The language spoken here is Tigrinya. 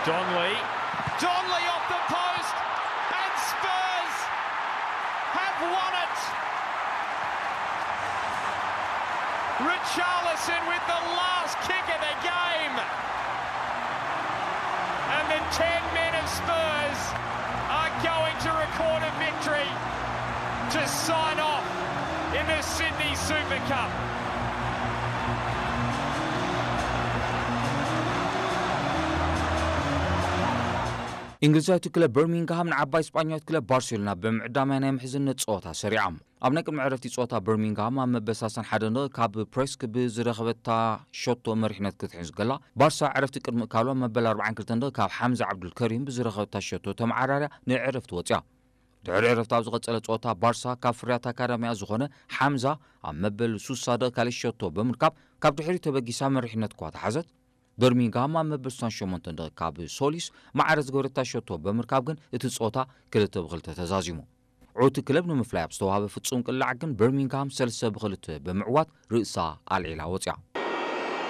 Donley. Donley off the post. And Spurs have won it. Richarlison with the last kick of the game. And the ten men of Spurs are going to record a victory to sign off in the Sydney Super Cup. እንግሊዛዊት ክለብ በርሚንግሃም ንዓባይ ስጳኛዊት ክለብ ባርሴሎና ብምዕዳምያ ናይ ምሕዝነት ጸወታ ሰሪዓ። ኣብ ናይ ቅድሚ ዕረፍቲ ጸወታ በርሚንግሃም ኣብ መበሳሰን ሓደ ንቕ ካብ ፕሬስክ ብዝረኸበታ ሸቶ መሪሕነት ክትሕዝ ገላ፣ ባርሳ ዕረፍቲ ቅድሚ እካሉ ኣብ መበል ኣርባዓን ክልተን ንቕ ካብ ሓምዛ ዓብዱልከሪም ብዝረኸበታ ሸቶ ተመዓራርያ ንዕረፍቲ ወጽያ። ድሕሪ ዕረፍቲ ኣብ ዝቐጸለ ጸወታ ባርሳ ካብ ፍርያት ኣካዳሚያ ዝኾነ ሓምዛ ኣብ መበል ሱሳ ደቕ ካልእ ሸቶ ብምርካብ ካብ ድሕሪ ተበጊሳ መሪሕነት እኳ ተሓዘት። በርሚንግሃም ኣብ መበል ሱሳን ሸሞንተን ደቕ ካብ ሶሊስ ማዕረ ዝገበረታ ሸቶ ብምርካብ ግን እቲ ጸወታ ክልተ ብክልተ ተዛዚሙ። ዕውቲ ክለብ ንምፍላይ ኣብ ዝተዋህበ ፍጹም ቅላዕ ግን በርሚንግሃም ሰለስተ ብክልተ ብምዕዋት ርእሳ ኣልዒላ ወጽያ።